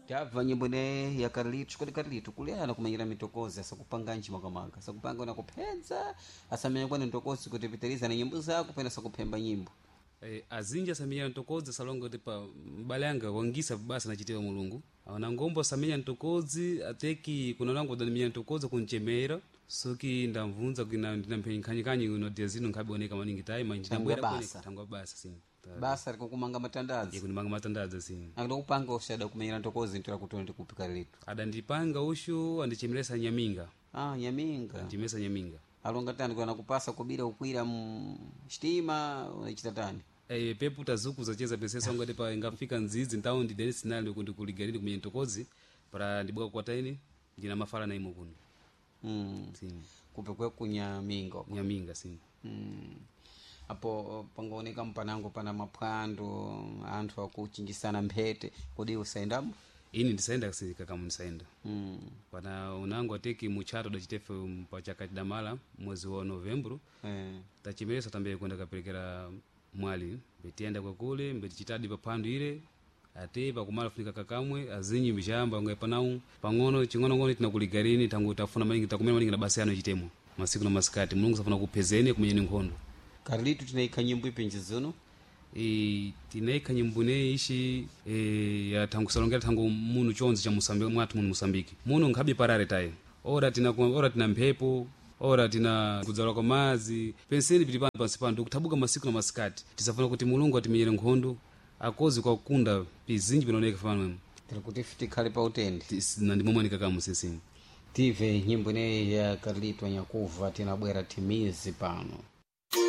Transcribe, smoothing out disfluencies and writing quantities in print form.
Tabva nyimbo ne ya Carlito. Kodi Carlito kuleyana kumanyira mitokozi asakupanga nchi makamaka, asakupanga na kuphenza, asamenya kwani mtokozi kuti pitiriza na nyimbo zako pena asakuphemba nyimbo? Azinji asamenya ntokodzi asalonga kuti pa mbale anga wangisa basa nachitewa Mulungu na ngombo asamenya ntokodzi ateki kuna langu danimenya ntokodzi kunchemera soki ndamvunza kina ndinamphenyikanyikanyi uno dia zino nkhabioneka maningi tayi manji Tangwa ndabwera kone basa. Tangwa basa sini. Basa likukumanga matandazi. Kunimanga matandazi sini. Akutokupanga usada kumenyera ntokozi ntira kuti ndikupi, Carlito? Adandipanga ushu andichemeresa nyaminga. Ah, nyaminga. Andichemeresa nyaminga. Alonga tani kuna kupasa kubira ukwira mxitima unachita tani? Pepu tazuku zacheza pesesa ngati pa ingafika nzizi ntaundi deni sinali kundi kuligalini kumenya ntokodzi para ndibweka kwataini ndina mafala na imo kuno. Sini. Kupekwe kunyaminga uko. Nyaminga sini. Apo pangaoneka mpanango pana maphwando, anthu akuchinjisana mphete, kodi usayendamo? Ini ndisaenda kakamu ndisaenda. Pana unango ateki muchato dachitefe pachaka chidamala mwezi wa Novembro. Tachimeresa tambe kwenda kaperekera mwali mbetiyenda kwakule mbetichitadi paphwando ile ate pakumala funika kakamwe azinyi mbishamba ngai panau pang'ono ching'onong'ono tinakuligarini tangu tafuna maningi takumena maningi na basi yano chitemo masiku na masikati Mulungu safuna kuphezeni kumenyeni nkhondo. Carlito, tinaikha nyimbo ipinji zino? Tinaikha nyimbo ineyi ishi ya thangu salongera thangu munu chonzi cha Musambiki mwathu muno Musambiki muno nkhabe parare tayi ora tina ora tina mphepo ora tina kudzala kwa madzi penseni pili pano pansi pano ndikuthabuka masiku na masikati tisafuna kuti Mulungu atimenyere nkhondo akozi kwa kukunda pizinji pinaoneka pano. Tiri kuti ife tikhale pa utende. Na ndimomwe ndikakamu sisini. Tive nyimbo ineyi ya Carlito Nyakuva, tinabwera timizi pano.